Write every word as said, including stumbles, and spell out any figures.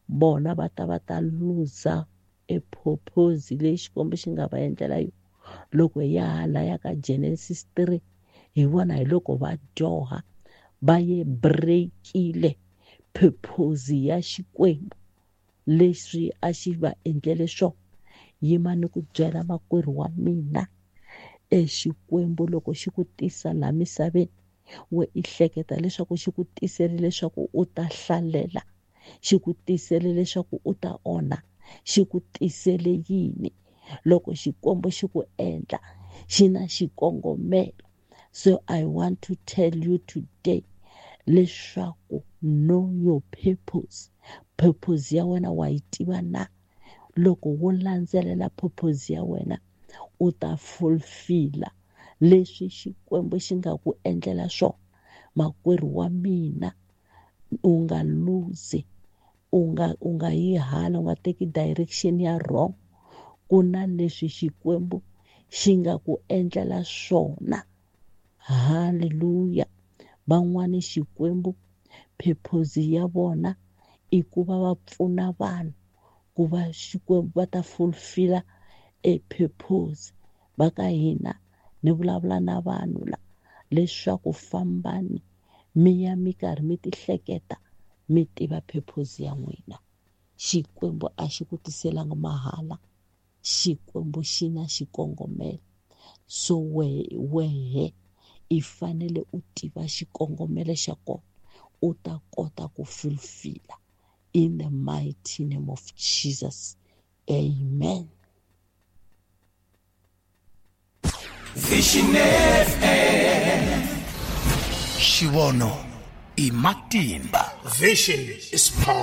Vona va ta va ta luza e purpose leyi Xikwembu xi nga va endlela yona. Loko hi ya hala ka Genesis three, hi vona hi loko va dyoha, va ye break-ile purpose ya Xikwembu leswi a xi va endlele swona. Yima ni ku byela makwerhu wa mina, e Xikwembu loko xi ku tisa laha misaveni, we i hleketa leswaku xi ku tisele leswaku u ta hlalela, xi ku tisele leswaku u ta onha, xi ku tisele yini? Loko Xikwembu xi ku endla, xi na xikongomelo. So I want to tell you today leswaku know your purpose. Purpose ya wena wa yi tiva na? Loko wo landzelela purpose ya wena, u ta fulfilla leswi Xikwembu xi nga ku endlela swona. Makwerhu wa mina, u nga lose, u nga, u nga yi hala, u nga teki direction ya wrong. Ku na leswi Xikwembu xi nga ku endlela swona. Hallelujah. Van'wani Xikwembu purpose ya vona i ku va va pfuna vanhu ku va Xikwembu va ta fulfilla e purpose. Va ka hina ni vulavula na vanhu la leswaku fambani mi ya mi karhi mi ti hleketa, mi tiva purpose ya n'wina. Xikwembu a xi ku tiselanga mahala, Xikwembu xi na xikongomelo. So wehe, wehe i fanele u tiva xikongomelo xa kona, u ta kota ku fulfilla in the mighty name of Jesus. Amen. Vision F M. Xivono i matimba. Vision is power.